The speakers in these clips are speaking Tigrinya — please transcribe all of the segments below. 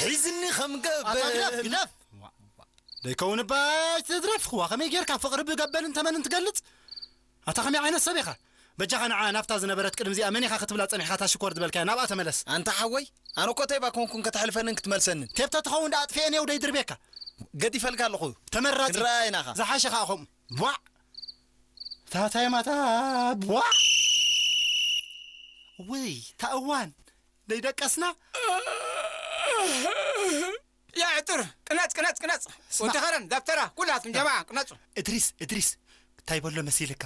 ሒዝኒ ከም ኣታ ግደፍ፣ ገበል። ግደፍ። ደይከውን እባ ኣይትድረፍ። ዋ፣ ከመይ ጌርካ ፍቕሪ ብገበልን ተመንን ትገልጽ? ኣታ ከመይ ዓይነት ሰብ ኢኻ? በጃኻ ንዓ ናብታ ዝነበረት ቅድሚ እዚኣ መን ኢኻ ክትብላ ጸኒሕካ እታ ሽኮር ዝበልካያ ናብኣ ተመለስ። ኣንታ ሓወይ፣ ኣነ እኮ ተይባ ኮንኩን ከተሕልፈንን ክትመልሰንን። ቴፕ ተትኸውን ደኣ ኣጥፍኤ ነየው ደይድርቤካ። ገዲፈልካ ኣለኹ። ተመራጺ። ክንረኣየና ኢኻ። ዝሓሸ ኸኣ ከምኡ። ቧዕ! ታታይ ማታ ቧዕ! ውይ፣ እታ እዋን ደይደቀስና? ያ ዕጥር፣ ቅነጽ፣ ቅነጽ፣ ቅነጽ። ስማ። ወዲ ኸረን፣ ደብተራ፣ ኩላትኩም ጀማዓ፣ ቅነጹ። እድሪስ፣ እድሪስ፣ እንታይ በሎ መሲልካ?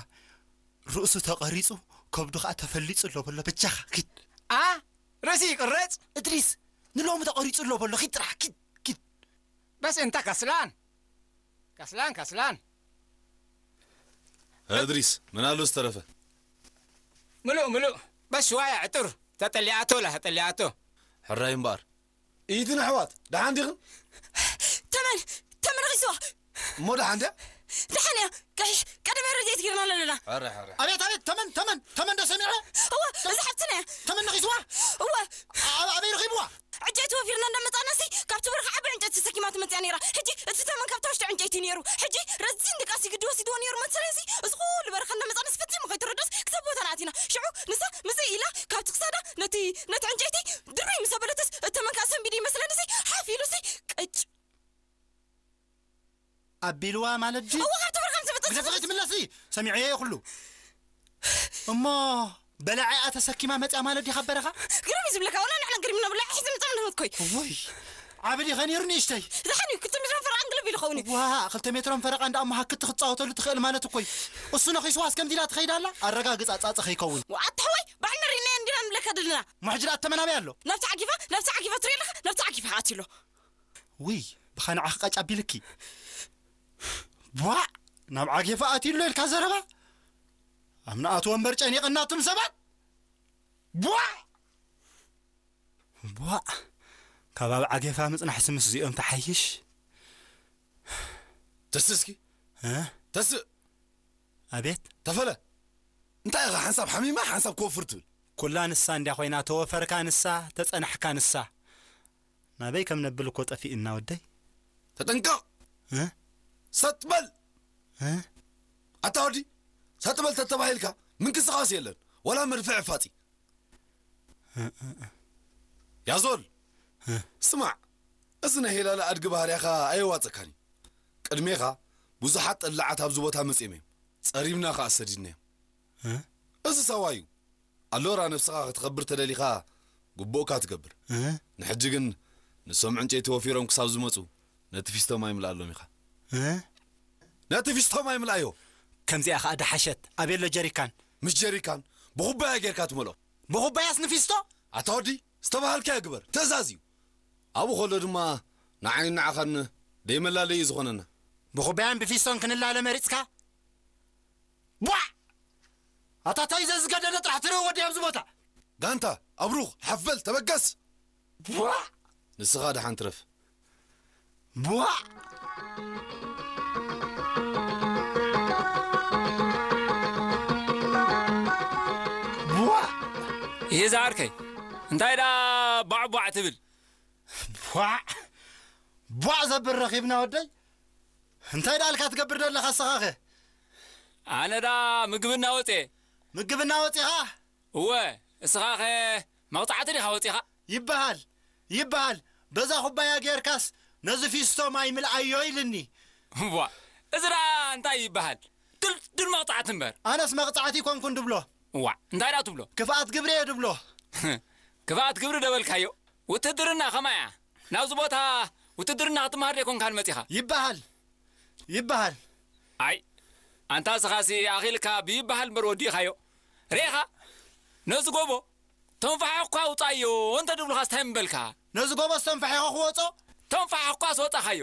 ርእሱ ተቐሪጹ፣ ከብዱ ኸኣ ተፈሊጹ ኣሎ በሎ፣ በጃኻ፣ ኪድ። ኣ? ርእሲ ይቅረጽ? እድሪስ፣ ንሎሚ ተቐሪጹ ኣሎ በሎ፣ ኪድ ጥራሕ፣ ኪድ፣ ኪድ። በስ እንታ ከስላን። ከስላን፣ ከስላን። እድሪስ፣ ምን ኣሎ ዝተረፈ? ምሉእ፣ ምሉእ። በስ ሽዋያ ዕጥር። ተጠሊኣቶ ላ፣ ተጠሊኣቶ። ሕራይ እምበኣር። ኢትን ኣሕዋት፣ ደሓን ዲኽን? ተመን፣ ተመን ኺስዋ። እሞ ደሓን ድያ? ደሓን እያ። ቀ-፣ ቀደም ረድኤት ጌርና ኣለና። ሕራይ፣ ሕራይ። ኣቤት፣ ኣቤት፣ ተመን፣ ተመን፣ ተመን ዶ ሰሚዐ? እወ፣ እዛ ሓብትና እያ። ተመን ነኺስዋ? እወ። ኣብ-፣ ኣበይ ረኺብዋ? ዕንጨይቲ ወፊርና እንዳመጻእናሲ፣ ካብቲ በረኻ ዓቢ ዕንጨይቲ ተሰኪማ ትመጽእ እያ ነይራ። ሕጂ እቲ ተመን ካብታ ውሽጢ ዕንጨይቲ ነይሩ። ሕጂ ረዚን ድቃሲ ግዲ ወሲድዎ ነይሩ መሰለንሲ፣ እዚ ኩሉ በረኻ እንዳመጻእናሲ ፈጺሙ ከይተረድኦስ ክሳብ ቦታና ኣቲና። ሽዑ ንሳ ምስይ ኢላ ካብቲ ክሳዳ ነቲ፣ ነቲ ዕንጨይቲ ድርብይ ምስ ኣበለትስ፣ እቲ ተመን ከኣ ሰንቢዱ ይመስለንሲ፣ ሓፍ ኢሉሲ፣ ቅጭ። ኣቢልዋ ማለት ድዩ? እወ፣ ካብ ትብርኻ ምስ ብጥስ ግደፍ፣ ከይትምለሲ! ሰሚዐዮ እየ ኩሉ። እሞ በላዒኣ ተሰኪማ መጽያ ማለት ድዩ ካብ በረኻ? ግርም እዩ ዝብለካ፣ ወላ ንሕና ግርም ኢና፣ ብላዒ ሒዘ ምጻእ ንህወት ኮይ። እወይ፣ ዓቢ ድዩ ኸ ነይሩ ንእሽተይ? ደሓን እዩ፣ ክልተ ሜትሮን ፈረቓን ግልብ ኢሉ ኸውን እዩ። ዋ፣ ክልተ ሜትሮን ፈረቓን ደኣ እሞ ሃክቲ ክትጻወተሉ ትኽእል ማለት እኮ እዩ። እሱ ነኺስዋስ ከምዚ ኢላ ትኸይድ ኣላ? ኣረጋግጻ ጻጸ ከይከውን። ዋ፣ ኣታ ሓወይ፣ ባዕልና ርኢናዮ እንዲና ንብለካ ዘለና። እሞ ሕጂ ደኣ ተመን ኣበይ ኣሎ? ናብቲ ዓጊፋ፣ ናብቲ ዓጊፋ ትርኢ ኣለኻ? ናብቲ ዓጊፋ ኣትዩ ኣሎ። ውይ፣ ብኻ ንዓኺ ቃጭ ኣቢልኪ። ቧዕ! ናብ ዓጌፋ ኣትዩ ኣሎ ኢልካ ዘረባ? ኣብ ንኣትዎ እምበር ጨኒቕና ኣቱም ሰባት! ቧዕ! ቧዕ! ካብ ኣብ ዓጌፋ ምጽናሕሲ ምስ እዚኦም ትሓይሽ። ተስእ እስኪ። እ? ተስእ! ኣቤት። ተፈለ! እንታይ ኢኻ ሓንሳብ ሓሚማ ሓንሳብ ክወፍር ትብል? ኩላ ንሳ እንድያ ኮይና፣ ተወፈርካ ንሳ፣ ተጸናሕካ ንሳ። ናበይ ከም ነብል እኮ ጠፊእና ወደይ። ተጠንቀቕ! እ? ሰጥ በል! እ? ኣታ ወዲ፣ ሰጥ በል ተተባሂልካ ምንቅስቓስ የለን፣ ወላ መድፍዕ ፋጺ። እ፣ እ፣ እ። ያዞል! እ። ስማዕ፣ እዚ ናይ ሄላለ ኣድጊ ባህርያኻ ኣየዋጸካን እዩ። ቅድሜኻ ብዙሓት ጠላዓት ኣብዚ ቦታ መጺኦም እዮም። ጸሪብና ኸኣ ሰዲድናዮም። እ? እዚ ሳዋ እዩ። ኣሎራ ነብስኻ ከተኸብር ተደሊኻ ግቡእካ ትገብር። እ? ንሕጂ ግን ንሶም ዕንጨይቲ ወፊሮም ክሳብ ዝመጹ ነቲ ፊስቶ ማይ ምልኣሎም ኢኻ። እ? ነቲ ፊስቶ ማይ ምልኣዮ። ከምዚኣ ኸኣ ደሓሸት። ኣበይ ኣሎ ጀሪካን? ምስ ጀሪካን ብኹባያ ጌርካ ትመልኦ። ብኹባያስ ንፊስቶ? ኣታ ወዲ፣ ዝተባሃልካዮ ግበር። ትእዛዝ እዩ። ኣብኡ ከሎ ድማ ንዓይን ንዓኻን ደይመላለዪ እዩ ዝኾነና። ብኹባያን ብፊስቶን ክንላለ መሪጽካ? ቧዕ! ኣታ ታይ ዘዝገደደ ጥራሕ ትርኢ ወዲ ኣብዚ ቦታ። ጋንታ፣ ኣብሩኽ፣ ሓፍ በል፣ ተበገስ! ቧዕ! ንስኻ ደሓን ትረፍ። ቧዕ! ቧዕ! ይህ ዝዓርከይ፣ እንታይ ደኣ ቧዕ ቧዕ ትብል? ቧዕ! ቧዕ ዘብል ረኺብና ወደይ? እንታይ ደኣ ኢልካ ትገብር ዘለኻ እስኻኸ? ኣነ ደኣ ምግቢ እናወፅየ። ምግቢ እናወፂኻ? እወ፣ እስኻኸ መቕጻዕቲ ዲኻ ወጺኻ? ይበሃል፣ ይበሃል። በዛ ኩባያ ጌርካስ ነዚ ፊስቶ ማይ ምልኣዮ ኢልኒ። እዋ፣ እዚ ደኣ እንታይ ይበሃል? ድልዱል መቕጻዕቲ እምበር። ኣነስ መቕጻዕቲ ኣይኮንኩን ድብሎ። እዋ፣ እንታይ ደኣ ትብሎ? ክፍኣት ግብሪ እየ ድብሎ። ክፍኣት ግብሪ ደበልካዮ? ውትድርና ከማይ እያ። ናብዚ ቦታ ውትድርና ክትመሃር ደይኮንካን መጺኻ? ይበሃል፣ ይበሃል። ኣይ፣ ኣንታ እስኻሲ ኣኺልካ ብይበሃል እምበር ወዲእኻዮ። ርኢኻ? ነዚ ጎቦ ተንፋሒ እኳ ኣውጻዮ እንተ ድብሉኻስ እንታይ ምበልካ? ነዚ ጎቦስ ተንፋሒኻ ክወጾ? ተንፋሒ እኳ ኣስወጻኻዮ።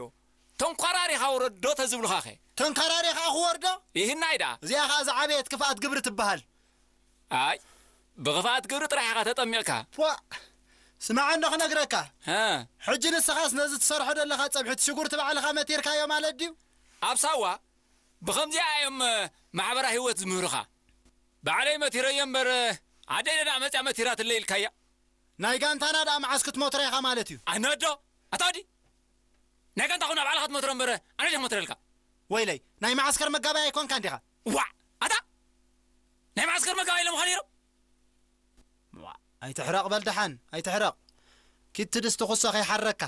ተንኳራሪኻ ውረዶ ተዝብሉኻኸ? ተንካራሪ ኸኣ ክወርዶ? ይህናይ ደኣ። እዚኣ ኸኣ ዝዓበየት ክፍኣት ግብሪ ትበሃል። ኣይ፣ ብኽፍኣት ግብሪ ጥራሕ ኢኻ ተጠሚቕካ። ፖእ! ስማዕ እንዶ ክነግረካ። ሀ። ሕጂ ንስኻስ ነዚ ትሰርሖ ዘለኻ ጸብሒ እቲ ሽጉርቲ ባዕልኻ መቲርካዮ ማለት ድዩ? ኣብ ሳዋ ብኸምዚኣ እዮም ማሕበራዊ ህይወት ዝምህሩኻ። ባዕለይ መቲረዮ እምበር ኣደይ ደኣ መጽያ መቲራትለይ ኢልካያ። ናይ ጋንታና ደኣ መዓስ ክትመትሮ ኢኻ ማለት እዩ? ኣነዶ ኣታ ወዲ፣ ናይ ጋንታ ኹን ኣብ ዓለኻ ትመትሮ እምበር ኣነ ድየ ክመትረልካ? ወይለይ፣ ናይ መዓስከር መጋባይ ኣይኮንካን ዲኻ? ዋዕ! ኣታ ናይ መዓስከር መጋባይ ኢሎም ኻ ነይሮም? ዋዕ! ኣይትሕረቕ በል ደሓን፣ ኣይትሕረቕ። ኪድ ትድስቲ ኩሶ ከይሓረካ።